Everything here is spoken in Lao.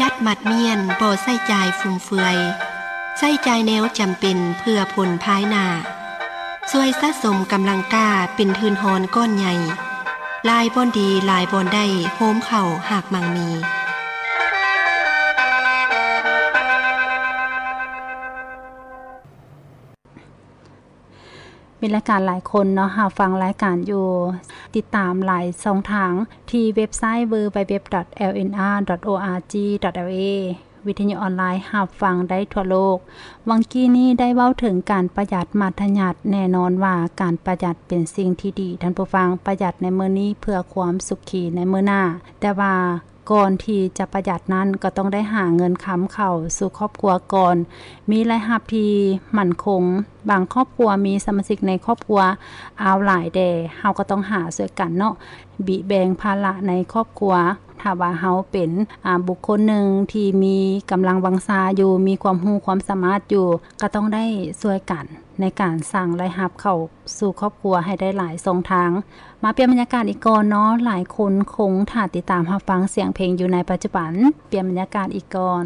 ຍັດໝັດມ້ຽນ ບໍ່ໃຊ້ຈ່າຍຟຸມເຟືອຍ, ໃຊ້ຈ່າຍແນວຈຳເປັນເພື່ອຜົນພາຍໜ້າ, ຊ່ວຍສະສົມກຳລັງກ້າເປັນທຶນຮອນກ້ອນໃຫຍ່, ຫຼາຍບ່ອນດີ ຫຼາຍບ່ອນໄດ້ ໂຮມເຂົ້າຮາກໝັ່ງມີ. ມີລາຍການຫຼາຍຄົນເນາະ ຮັບຟັງລາຍການຢູ່ ຕິດຕາມຫຼາຍຊ່ອງທາງ ທີ່ເວັບໄຊ www.lnr.org.la ວິທະຍຸອອນລາຍ ຮັບຟັງໄດ້ທົ່ວໂລກ. ຫວ່າງກີ້ນີ້ໄດ້ເວົ້າເຖິງການປະຢັດມັດທະຍັດ. ແນ່ນອນວ່າການປະຢັດເປັນສິ່ງທີ່ດີ, ທ່ານຜູ້ຟັງ, ປະຢັດໃນມື້ນີ້ເພື່ອຄວາມສຸຂີໃນມື້ໜ້າ. ແຕ່ວ່າ ກ່ອນທີ່ຈະປະຢັດນັ້ນ ກໍຕ້ອງໄດ້ຫາເງິນຄຳເຂົ້າສູ່ຄອບຄົວກ່ອນ, ມີລາຍຮັບທີ່ໝັ້ນຄົງ. ບາງຄອບຄົວມີສະມາຊິກໃນຄອບຄົວອາວຫຼາຍແດ່, ເຮົາກໍຕ້ອງຫາຊ່ວຍກັນເນາະ, ບິແບ່ງພາລະໃນຄອບຄົວ. ຖ້າວ່າເຮົາເປັນ ອາ ບຸກຄົນໜຶ່ງທີ່ມີກຳລັງວັງຊາຢູ່, ມີຄວາມຮູ້ຄວາມສາມາດຢູ່, ກໍຕ້ອງໄດ້ຊ່ວຍກັນໃນການສ້າງລາຍຮັບເຂົ້າສູ່ຄອບຄົວໃຫ້ໄດ້ຫຼາຍຊ່ອງທາງ. ມາປ່ຽນບັນຍາກາດອີກກ່ອນເນາະ, ຫຼາຍຄົນຄົງຖ້າຕິດຕາມຮັບຟັງສຽງເພງຢູ່ໃນປັດຈຸບັນ. ປ່ຽນບັນຍາກາດອີກກ່ອນ.